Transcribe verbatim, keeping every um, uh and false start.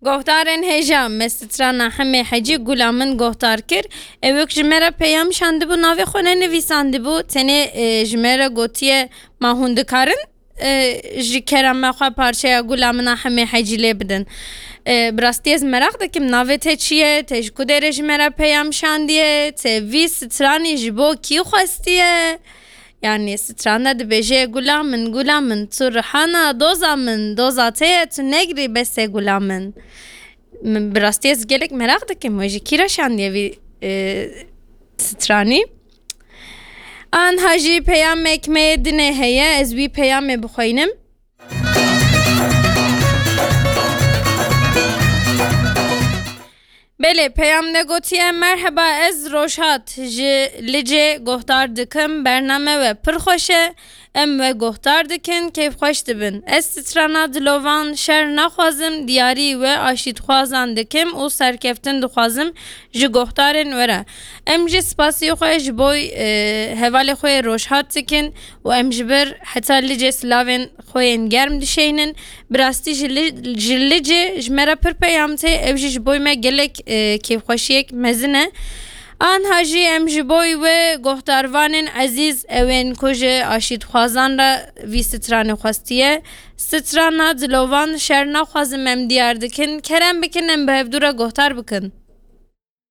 Gohdarên hêja me strana Hemê Hecî Gula Min gohdar kir. Ew wek ji me re peyam şandibû, navê xwe nenivîsandibû. Tenê, e, ji me re gotiye, ma hûn dikarin, e, ji kerema xwe parçeya Gula Min a Hemê Hecî lê bidin. E, bi rastî ez meraq dikim, navê te çi ye? Te ji ku derê ji me re peyam şandiye? Te vî stranî ji bo kî xwestiye? Yani, strana dibêje, Gula min, gula min, tu rihana doza min, doza te ye, tu negirî, bes e, gula min. Min, bi rastî ez gelek meraq dikim, we ji kî re şandiye vî, e, stranî? Anha jî peyamek me yê dinê heye, ez wî peyamê bixweynim. Belê, peyam de gotiye, Merheba, ez Rojhat, ji Licê gohdar dikim, bername we pir xweş e, em we gohdar dikin, kêfxweş dibin. Ez strana Dilovan şer naxwazim, diyarî we aşîtxwazan dikim û serkeftin dixwazim ji gohdarên we re. Em jî spasî xwe ji bo, e, hevalê xwe yê Rojhat dikin û em ji ber heta Licê silavên xwe yên germ dişeynin. Bi rastî ji Li-, ji Licê ji me re pir peyam tê. Ew jî ji bo me gelek, e, kêfxweşiyek mezin e. Anha jî em ji bo we gohdarvanên ezîz, ewên ku ji aşîtxwazan re vî stranê xwestiye. Strana Dilovan şer naxwazim em diyar dikin. Kerem bikin em bi hevdû re gohdar bikin.